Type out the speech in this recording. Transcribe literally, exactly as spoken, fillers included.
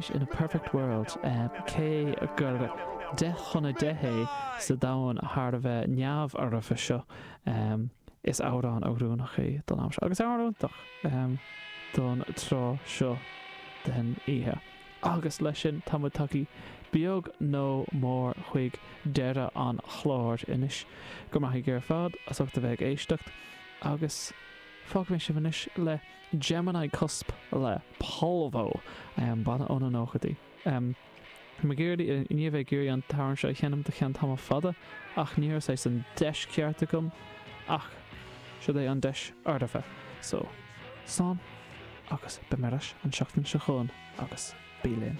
Anois In a Perfect World cé gur deich chun a deich é sa domhan thar a bheith neamhfhoirfe seo is amhrán oiriúnach é don am seo agus amhrán iontach don tráth seo den oíche. Agus leis sin tá muid tagtha beag nó mór chuig deireadh an chláir anois. Go maith ar fad as ucht a bheith ag éisteacht agus fágfaidh mé sibh anois le Gemini Cusp le Polvo banna ó na nóchaidí. Um, Mé géirí ní bheith géirí an t-amhrán seo a sheinm do cheann tamall fada ach ní raibh an deis ceart agam ach seo é an deis fhoirfe. So slán agus beimid ar ais an seachtain seo chugainn agus bí linn.